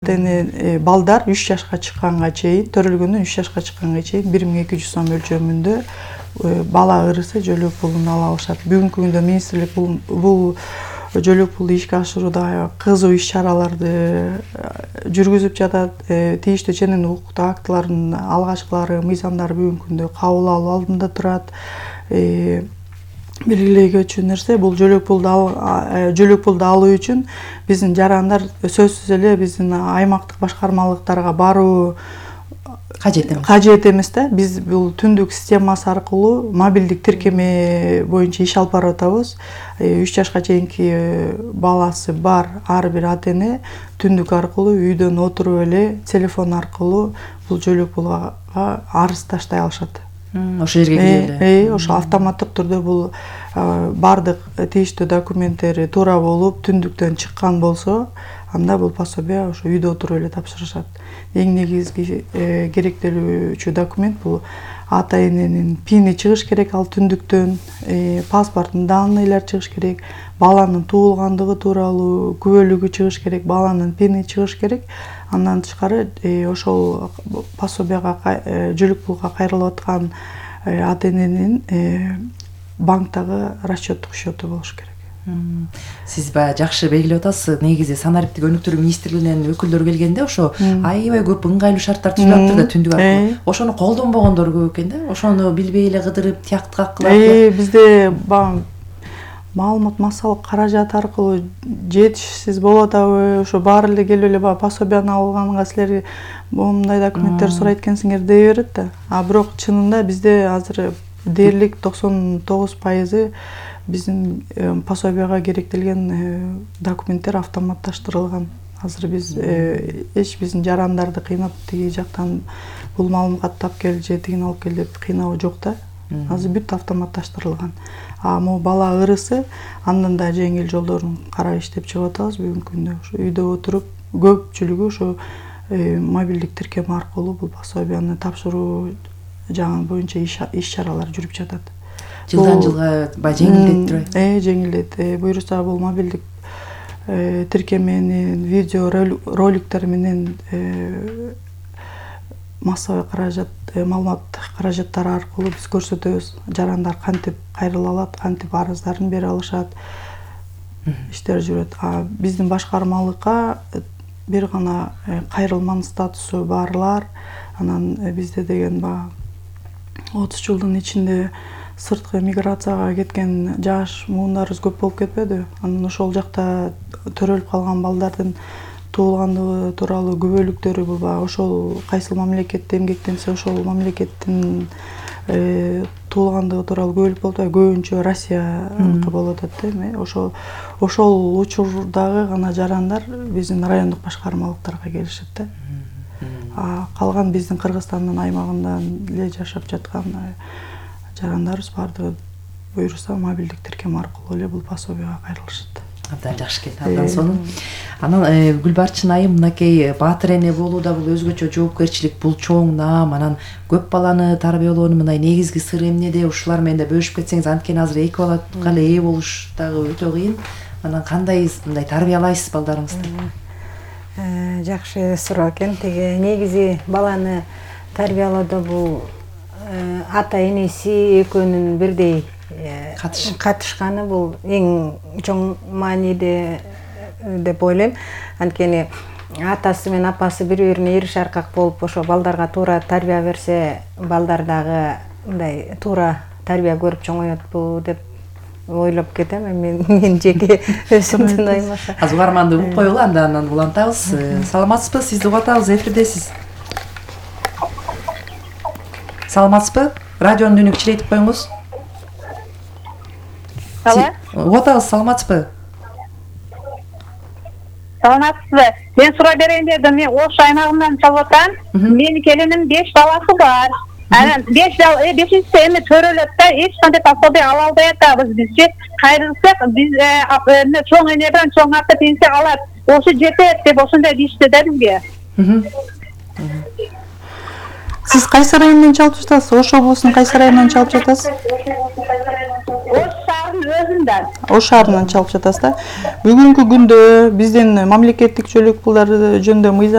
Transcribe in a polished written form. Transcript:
Балдар 3 жашка чыкканга чейин, төрөлгөндөн 3 жашка чыкканга чейин 1200 сом өлчөмүндө бала ырысы жөлөк пулун ала алышат. Бүгүнкү күндө министрлик бул жөлөк пулду ишке ашырууда кызуу иш-чараларды жүргүзүп жатат. Тийиштүү ченен укуктук актылардын алгачкылары, мыйзамдары бүгүнкү күндө кабыл алуу алдында турат. Белгилей өчүн нерсе бул жөлөк пулду алуу үчүн биздин жарандар сөзсүз эле биздин аймактык башкармалыктарга баруу кажет эмес да. Биз бул түндүк системасы аркылуу мобилдик тиркеме боюнча иш алып барып атабыз. 3 жашка чейинки баласы бар ар бир ата-эне түндүк аркылуу үйдөн отуруп эле телефон аркылуу бул жөлөк пулга арыз таштай алышат. Ошо жерге кирип эле. Ошо автоматтык түрдө бул бардык тийиштүү документтери туура болуп, түндүктөн чыккан болсо, анда бул пособие ошо үйдө отуруп эле тапшырышат. Эң негизги керектелүүчү документ бул ата-эненин пини чыгыш керек ал түндүктөн, паспорттун данныйлары чыгыш керек, баланын туулгандыгы тууралуу күбөлүгү чыгыш керек, баланын пини чыгыш керек. Андан тышкары ошол пособияга жөлөк пулга кайрылып аткан ата-эненин банктагы расчёттук счёту болуш керек. Сиз баягы жакшы белгилеп атасыз. Негизи санариптик өнүктүрүү министрлигинен өкүлдөр келгенде ошо аябай көп ыңгайлуу шарттар түзүлүп атыптыр да түндүк аркылуу. Ошону колдонбогондор көп экен да. Ошону билбей эле кыдырып тияктык кылат. Бизде маалымат массалык каражат аркылуу жетишсиз болуп атабы, ошо баары эле келип эле баягы пособияны алганга силер моундай документтер сурайт экенсиңер дей берет да. Бирок чынында бизде азыр дээрлик 99% биздин пособияга керектелген документтер автоматташтырылган. Азыр биз биздин жарандарды кыйнап тиги жактан бул маалымат тап кел же тигини алып кел деп кыйноо жок да. Азыр бүт автоматташтырылган. Могу бала ырысы андан да жеңил жолдорун карап иштеп чыгып атабыз бүгүнкү күндө. Ошо үйдө отуруп көпчүлүгү ошо мобилдик тиркеме аркылуу бул пособияны тапшыруу жагы боюнча иш-чаралар жүрүп жатат. Жылдан жылга баягы жеңилдетип турат. Жеңилдет. Буюрса бул мобилдик тиркеменин видео роликтер менен массовый каражат, маалымат каражаттары аркылуу биз көрсөтөбүз. Жарандар кантип кайрыла алат, кантип арыздарын бере алышат. Иштер жүрөт. Биздин башкармалыкка бир гана кайрылман статусу барлар, анан бизде деген 30 жылдын ичинде сырткы миграцияга кеткен жаш муундарыбыз көп болуп кетпеди. Анан ошол жакта төрөлүп калган балдардын туулгандыгы тууралуу күбөлүктөрү бул ошол кайсыл мамлекетте эмгектенсе ошол мамлекеттин туулгандыгы тууралуу күбөлүк болуп атат. Көбүнчө Россияныкы болуп атат да. Ошол учурдагы гана жарандар биздин райондук башкармалыктарга келишет да. Калган биздин Кыргызстандын аймагынан эле жашап жаткан жарандарыбыз бардыгы буюрса мобилдик тиркеме аркылуу эле бул пособияга кайрылышат. Абдан жакшы экен, абдан сонун. Анан Гүлбарчын айым, мынакей баатыр эне болуу да бул өзгөчө жоопкерчилик, бул чоң наам. Анан көп баланы тарбиялоонун мындай негизги сыры эмнеде? Ушулар менен да бөлүшүп кетсеңиз, анткени азыр 2 балага эле ээ болуш дагы өтө кыйын. Анан кандай мындай тарбиялайсыз балдарыңызды? Жакшы суроо экен. Теге негизи баланы тарбиялоодо бул ата-энеси экөөнүн бирдей катышканы бул эң чоң мааниде деп ойлойм. Анткени атасы менен апасы бири-бирине эриş аркак болуп ошо балдарга туура тарбия берсе, балдар дагы мындай туура тарбия көрүп чоңоётпу деп ойлоп кетем. Мен жеке өзүмдүн оюм ошо. Азыр угарманды угуп коелу, андан улантабыз. Саламатсызбы? Сизди угуп атабыз, эфирдесиз. Саламатсызбы? Радионун үнүн кичирейтип коюңуз. Угуп атабыз, саламатсызбы? Саламатсызбы? Мен суроо берейин дедим. Мен Ош аймагынан чалып атам. Менин келиним 5 баласы бар. Анан 5-инчиси эми төрөлөт да, эч кандай пособие ала албай атабыз бизчи. Кайрылсак биз чоң энеден чоң ата пенсия алат. Ошо жетет деп ошондой дишти да бизге. Сиз кайсы районунан чалып жатасыз? Ош облусунун кайсы районунан чалып жатасыз? Ош шаарынын өзүндө. шаарынан. Ош шаарынан чалып жатасыз да. Бүгүнкү күндө биздин мамлекеттик чөлөк пулдар жөнүндө